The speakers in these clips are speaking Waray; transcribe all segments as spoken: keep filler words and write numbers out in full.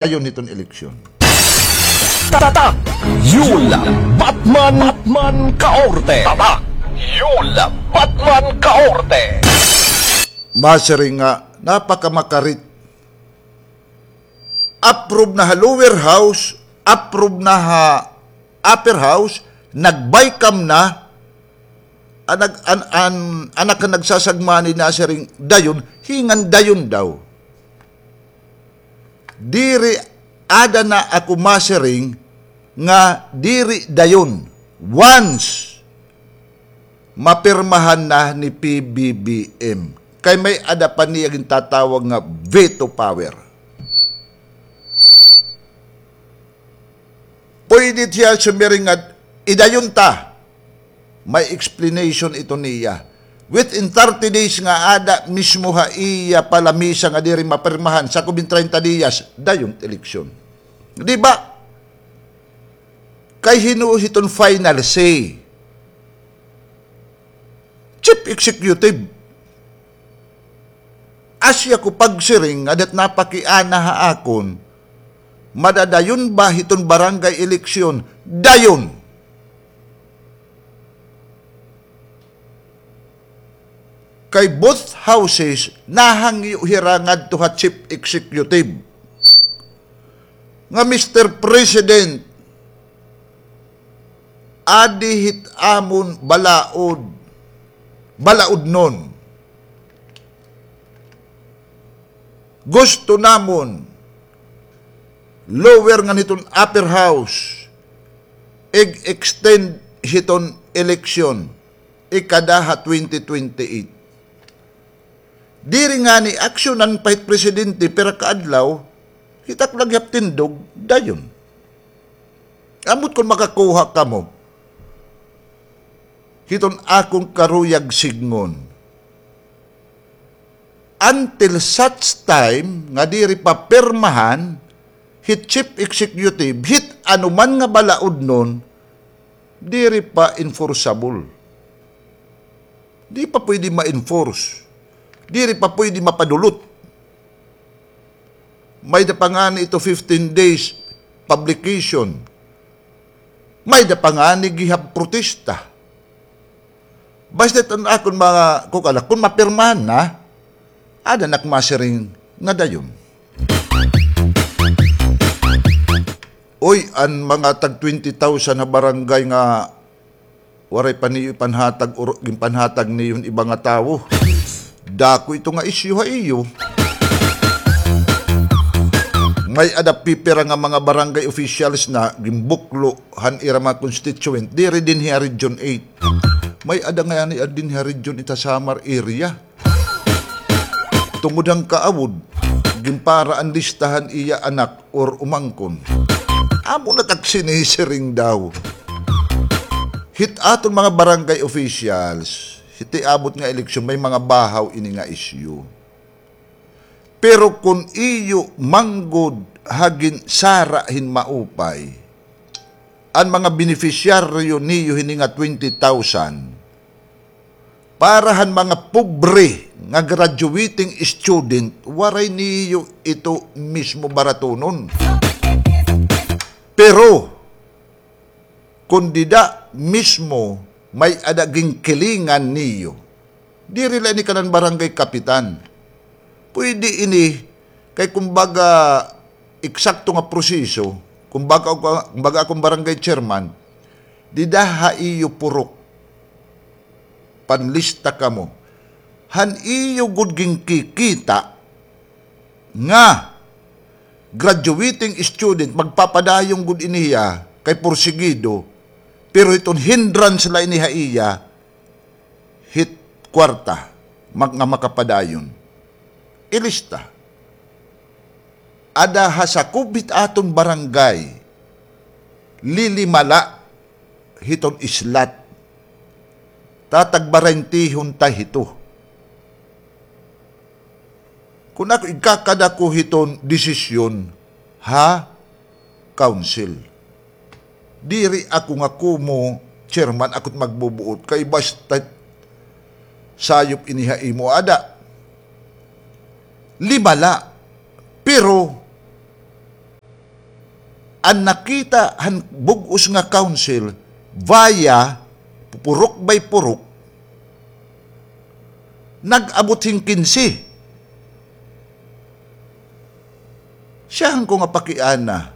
dayon hiton eleksyon. Tatak Yul Batman, Batman Kaorte. Tatak Yul Batman Kaorte. Masiring nga napakamakarit. Approve na ha lower house, approve na ha upper house, nag-BICAM na, an nag-, an, an, an nagkanagsasagmani nasiring dayon, hingan dayon daw. Diri, ada na ako masiring nga diri dayon. Once mapirmahan na ni P B B M. Kay may-ada pa niya gintatawag nga veto power. Pwede siya sumiring nga idayon ta. May explanation ito niya. Within thirty days nga ada mismo ha iya pa lamisa nga diri mapirmahan, sakob hin treinta diyas, dayon eleksyon. Di ba? Kay hin-o hiton final say? Chief Executive. Asya ko pagsiring nga dat napakiana ha akon, madadayon ba hiton barangay eleksyon? Dayon. Kay both houses, nahangyo hira ngadto ha chief executive. Nga, "Mister President, adi hit amon balaod, balaodnon. Gusto namon lower ngan hiton upper house, ig-extend hiton eleksyon, ikada ha twenty twenty-eight." Diri ngani aksyonan pa hit presidente, pira ka adlaw, hit ak lagi hap tindog, dayon. Ambot kon makakuha kamo hiton akon karuyag sidngon. Until such time nga diri pa pirmahan hit chief executive, hit ano man nga balaodnon, diri pa enforceable. Di pa pwede ma-enforce. Diri pa pwede mapadulot. May-ada pa ngani ito fifteen days publication. May-ada pa ngani gihap protesta. Basta it an akon mga kukala, kon mapirmahan na, ada na ak masiring nga dayon. Uy, an mga tag twenty thousand ha barangay nga waray pa niyo ipanhatag or ginpanhatag niyo hin iba nga tawo. Dako ito nga isyu ha iyo. May-ada pipira nga mga barangay officials na ginbuklo han ira mga constituent, diri dinhi ha Region eight. May-ada ngani dinhi ha Region eight ha Samar area. Tungod han kaawod, ginpara an lista han iya anak or umangkon. Amo na it ak sinisiring daw. Hit aton mga barangay officials, hit iabot nga eleksyon, may mga bahaw ini nga isyu. Pero kon iyo man gud ha ginsara hin maupay, an mga beneficiaryo niyo hini nga twenty thousand, para han mga pobre nga graduating student, waray niyo ito mismo baratunon. Pero, kon dida mismo may-ada ginkilingan niyo, diri la ini kanan barangay kapitan. Pwede ini, kay kumbaga, eksakto nga proseso, kumbaga, kumbaga akon barangay chairman, dida ha iyo purok, panlista kamo. Han iyo gud ginkikita nga graduating student, magpapadayon gud ini hiya kay porsigido, pero hiton hindrance la ini ha iya hit kwarta, mak-, nga makapadayon. Ilista. Ada ha sakob hit aton barangay, lilima la hiton slot. Tatagbarentihon ta hito. Kon ako, igkakada ko hiton desisyon ha council. Diri ako nga kumo chairman, ako it magbubuot kay basta sayop ini ha imo, ada. Lima la. Pero An nakita han bug-os nga council via purok by purok, nag-abot hin kinse. Siyahan ko nga pakiana,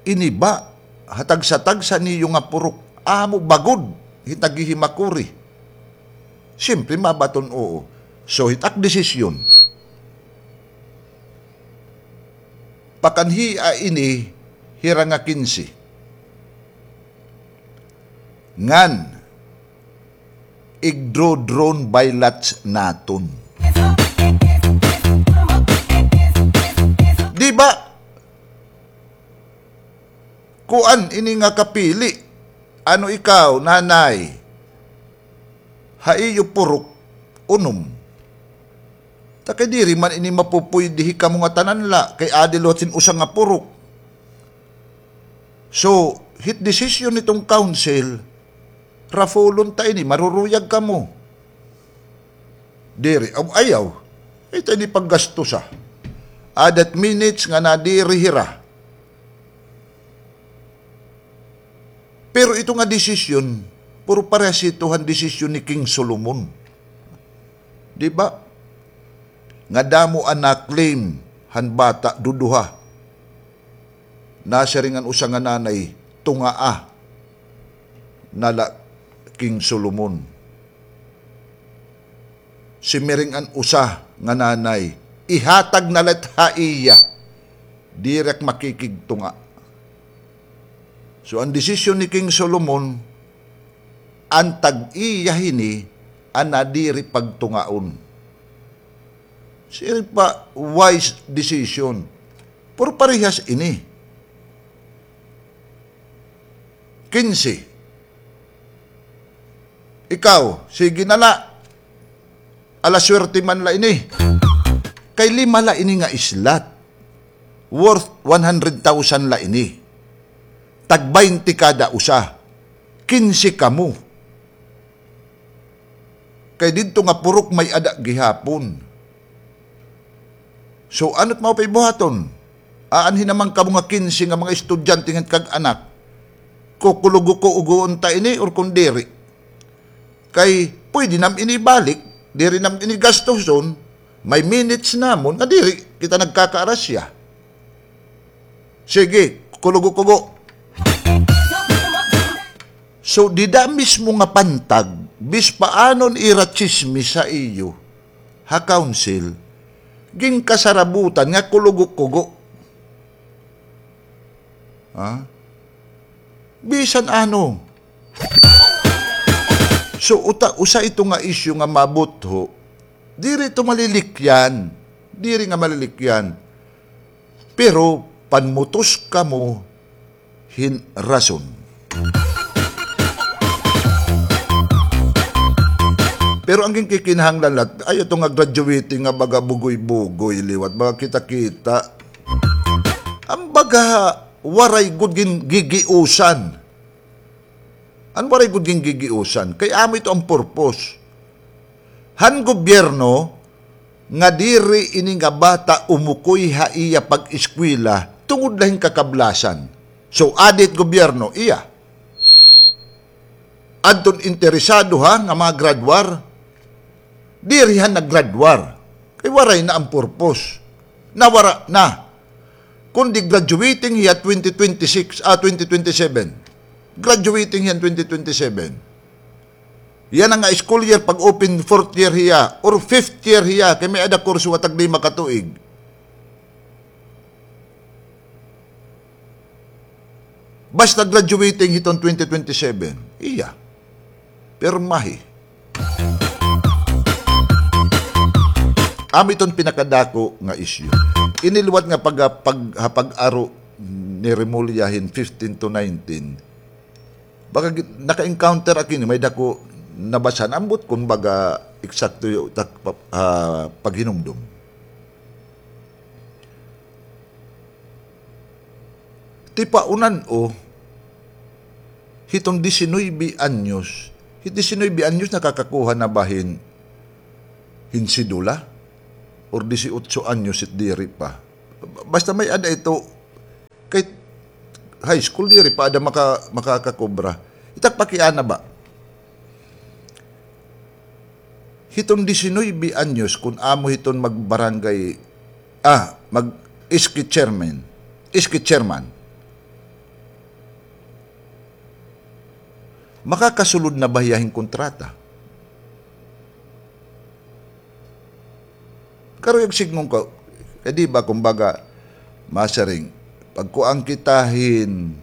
ini ba ha tagsa-tagsa niyo nga purok, amo ba gud hin taghihimakuri? Siyempre, mabaton oo. So, hit ak desisyon, pakanhia ini hira nga kinse. Ngan, igdo-drawn ballots naton. Di ba? Kuan ini nga kapili. Ano ikaw, nanay? Ha iyo purok, unom. Ta kay diri man ini mapupuydi hikamo nga tanan la, kay adi liwat hin usa nga purok. So, hit desisyon hiton council, raffle-on ta ini, maruruyag kamo. Diri, aw, ayaw. Ito ini paggastusa. Adat minutes nga nadiri hira. Pero ito nga desisyon, puro parehas ito han desisyon ni King Solomon. Di ba? Nga damo an na-claim han bata, duduha. Nasiring an usa nga nanay, tungaa na la King Solomon. Simiring an usa nga nanay, ihatag na la it ha iya. Diri ak makikigtunga. So, an desisyon ni King Solomon, an tag-iya hini, an nadiri pagtungaon. Siring pa, wise decision. Pero parehas ini. Kinse. Ikaw, sige na la. Ala swerte man la ini. Kay lima la ini nga slot. Worth one hundred thousand la ini. Tag baynte kada usa. Kinse kamo. Kay didto nga purok may-ada gihapon. So, ano't mao pa ibuhaton? Aanhi naman kamo nga kinse nga mga estudyante ngan kag-anak. Kukulugo-kuugoon ta ini or kon diri. Kay pwede nam ini ibalik, diri nam ini gastuson, may minutes namon nga diri kita nagkakaarasya. Sige, kulugo-kugo. So, dida mismo nga pantag, bis paano an ira tsismis ha iyo, ha council, ginkasarabutan nga kulugo-kugo. Ha? Bisan ano. So, uta, usa ito nga isyu nga mabutho, diri ito malilikyan. Diri nga malilikyan. Pero panmutos kamo hin rason. Pero an ginkikinahanglan la, ayaw ito nga graduating nga baga bugoy-bugoy liwat, baga kita-kita. An baga waray gud gingigiusan. An waray gud gingigiusan, kay amo ito an purpose han gobyerno nga diri ini nga bata umukoy ha iya pag-eskwela tungod la hin kakablasan. So, adi it gobyerno, iya. Adton interesado ha nga mga graduar, diri han naggraduar. Kay waray na an purpose. Nawara na. Kundi graduating hiya twenty twenty-six, ah, twenty twenty-seven. Graduating hiya twenty twenty-seven. Yana nga school year, pag-open fourth year hiya, or fifth year hiya, kay may-ada kurso nga tag-lima ka tuig. Basta graduating hiton twenty twenty-seven, iya. Pirmahi. Amo iton pinakadako nga isyu. Ini liwat nga pag-, pag-, ha pag-aro ni Remulla hin fifteen to nineteen, baga gi-, naka-encounter ak ini, may-ada ko nabashan, ambot kon baga eksakto yo-, tak-, pa-, ah, paghinumdom. Tipaunan-o, hiton diecinuebe anyos, hit diecinuebe anyos nakakakuha na ba hin, hin sedula? Or dieciocho anyos hit diri pa? Basta may-ada ito, kay high school, diri pa ada maka-, makakakobra. It ak pakiana ba? Hiton disinuybe anyos, kun amo hiton magbarangay, ah, mag-S K chairman, S K chairman, makakasulod na ba hiya hin kontrata? Karuyag sidngon ko, kay di ba, kumbaga, masiring, pagkuan kita hin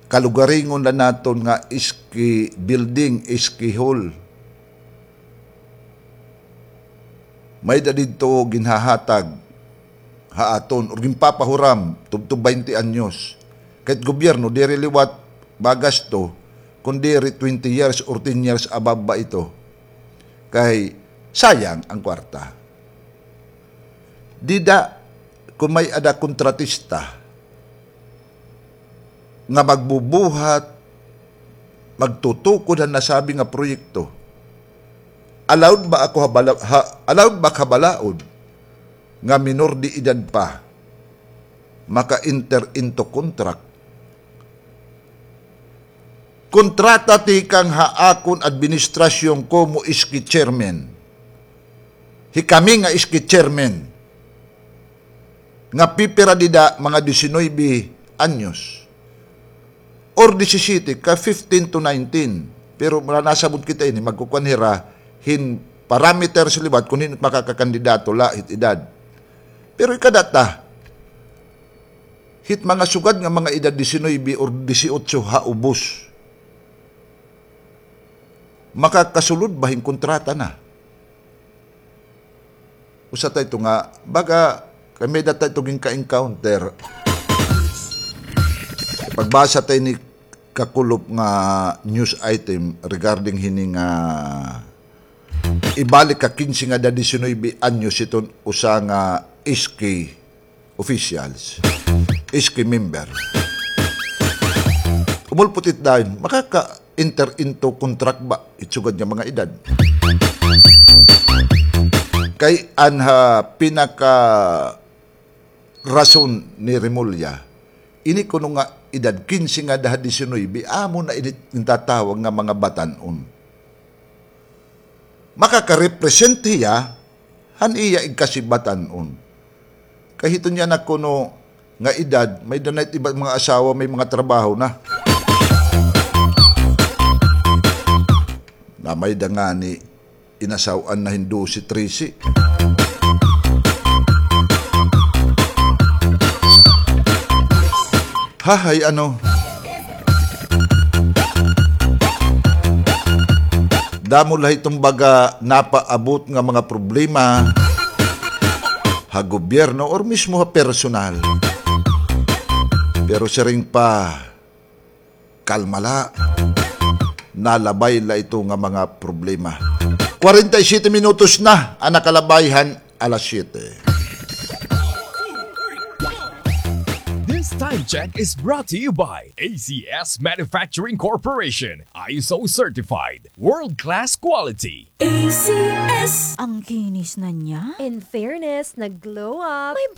kalugaringon la naton nga S K building, S K hall. May-ada didto ginhahatag ha aton, or ginpapahuram, tubtob baynte anyos. Kay it gobyerno, diri liwat magasto, kun diri twenty years or ten years above ba ito. Kay sayang an kwarta. Dida, kun may-ada kontratista nga magbubuhat, magtutukod han nasabi nga proyekto, allowed ba ako ha bala-, ha, allowed ba ha balaod nga minor de edad pa maka-enter into contract? Kontrata tikang ha akon administrasyon komo S K chairman. Hikami nga S K chairman nga pipira dida mga disinuybe anyos or disisiyete, ka fifteen to nineteen. Pero nasabot kita ini, magkukuan hira hin parameters liwat kun hin-o it makakakandidato la hit edad. Pero ikadata, hit mga sugad nga mga edad disinuybe or disiotso ha ubos, makakasulod ba hin kontrata na? Usa ta ito nga, baga, kay may-ada ta ito ginka-encounter. Pagbasa ta ini kakulop nga news item regarding hini nga ibalik ha kinse nga edad disinuybe anyos iton usa nga S K officials, S K member. Umulpot it dayon, makaka-enter into contract ba it sugad nga mga edad? Kay an ha pinaka rason ni Remulla, ini kuno nga edad kinse ngada ha disinuybe, amo na ini gintatawag nga mga batan-on. Makaka-represent hiya han iya igkasi batan-on. Kay hiton niya na kuno nga edad, may-ada na it iba mga asawa, may mga trabaho na. Na may-ada ngani inasaw-an na hin dose, trese. Hahay, ano? Damo la hiton baga napaabot nga mga problema ha gobyerno or mismo ha personal. Pero siring pa, kalma la. Nalabay la ito nga mga problema. Kwarenta y siyete minutos na an nakalabay han alas siyete. This time check is brought to you by A C S Manufacturing Corporation, I S O certified, world-class quality. A C S. Ang kinis na niya. In fairness, nag-glow up. May